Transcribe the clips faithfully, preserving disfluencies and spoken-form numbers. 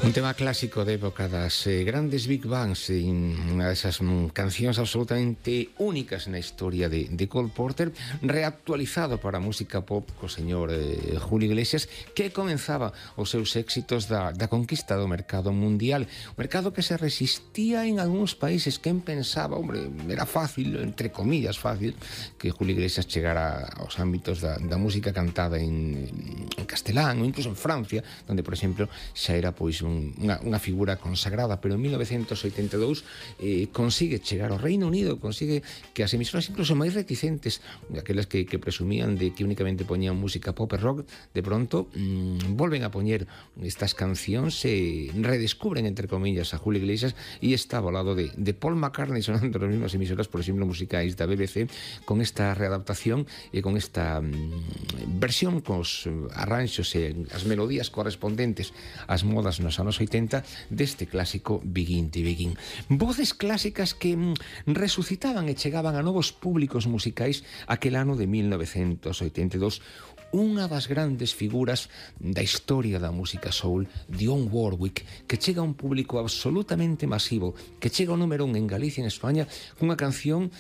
Un tema clásico de época das eh, grandes Big Bands, e unha desas mm, cancións absolutamente únicas na historia de, de Cole Porter, reactualizado para a música pop co señor eh, Julio Iglesias, que comenzaba os seus éxitos da, da conquista do mercado mundial, un mercado que se resistía en algúns países. Quen pensaba, hombre, era fácil, entre comillas fácil, que Julio Iglesias chegara aos ámbitos da, da música cantada en, en castelán ou incluso en Francia, donde, por exemplo, xa era pois un, unha, unha figura consagrada. Pero en mil novecentos oitenta e dous eh, consigue chegar ao Reino Unido, consigue que as emisoras incluso máis reticentes, aquelas que, que presumían de que únicamente poñían música pop e rock, de pronto mmm, volven a poñer estas cancións e redescubren, entre comillas, a Julio Iglesias, e estaba ao lado de, de Paul McCartney sonando nas mesmas emisoras, por exemplo, musicais da B B C, con esta readaptación e con esta mmm, versión cos arranxos e as melodías correspondentes ás modas nos anos oitenta deste clásico Begin to Begin. Voces clásicas que mm, resucitaban e chegaban a novos públicos musicais aquel ano de mil novecentos oitenta e dous. Unha das grandes figuras da historia da música soul, Dionne Warwick, que chega a un público absolutamente masivo, que chega ao número un en Galicia e en España cunha canción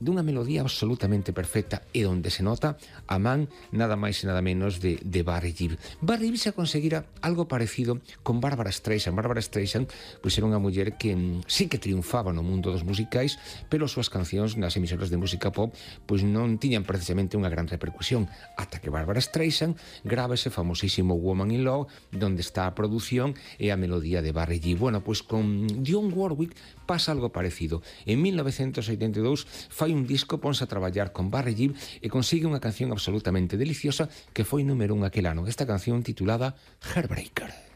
dunha melodía absolutamente perfecta e onde se nota a man nada máis e nada menos de, de Barry Gibb. Barry Gibb se conseguira algo parecido con Barbra Streisand. Barbra Streisand pois era unha muller que mm, sí que triunfaba no mundo dos musicais, pero as súas cancións nas emisoras de música pop pois non tiñan precisamente unha gran repercusión, ata que Barbra Streisand grava ese famosísimo Woman in Love, donde está a produción e a melodía de Barry Gibb. Bueno, pois con Dionne Warwick pasa algo parecido. En mil novecentos oitenta e dous fai un disco, ponse a traballar con Barry Gibb e consigue unha canción absolutamente deliciosa que foi número un aquel ano. Esta canción titulada Heartbreaker.